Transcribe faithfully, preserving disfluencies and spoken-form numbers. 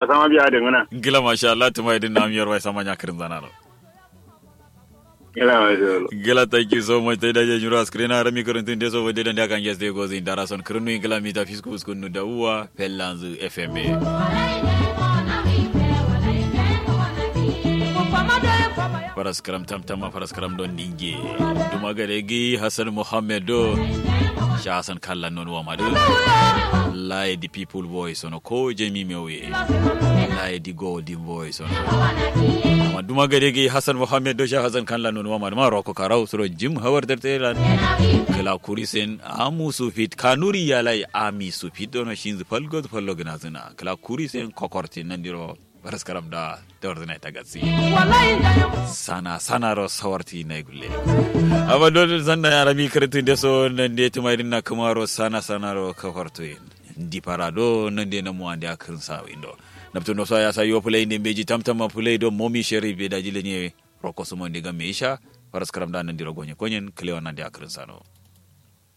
Asama biya adǝ ngǝna. Ngla masha Allah tǝma ye dǝ nam yorwa ye sama nya kǝrǝnzanaro. Ngla masha Allah. Ngla thank you so much tai daji nyiro askǝrena rami kǝrǝntǝn de so bande dande akange sǝ de gozǝ indara son kǝrǝnnu ye ngla mita fisku uskǝnnu da uwa fellanzǝ fm ye. Faraskǝram tamtamma faraskǝram don ninge duma gade gǝyi hassan muhammed do. Sha hassan kallan non wama dǝ. Laye di people voice ono ko jami mewu ye. Laye di golden voice ono. Amma duma gade gǝyi hassan muhammed do sha hassan kallan non wama dǝ ma roko karau suro jim hawar darte lan. Kǝla kurisen amu sufit kanuri yalai ami sufit dono shinzǝ falgo fallo gǝnazǝna kǝla kurisen kokortin nandiro. Faraskaram da tawardǝna ita gatsi. Sana sanaro sawarti nai gulle. Amma dole sanna ya rami kǝrǝntǝn de so nande tǝma ye dǝn na kǝmaro sana sanaro kafartoyin. Ndi fara do nande namu ande akǝrǝn sawo indo. Naptǝ noso ya sayo fǝlai nde mbeji tamtamma fǝlai do momi sherif be daji lenye. Roko sumo nde gamme isha. Faraskaram da nandiro gonye konyen kǝlewa nande akǝrǝn sano.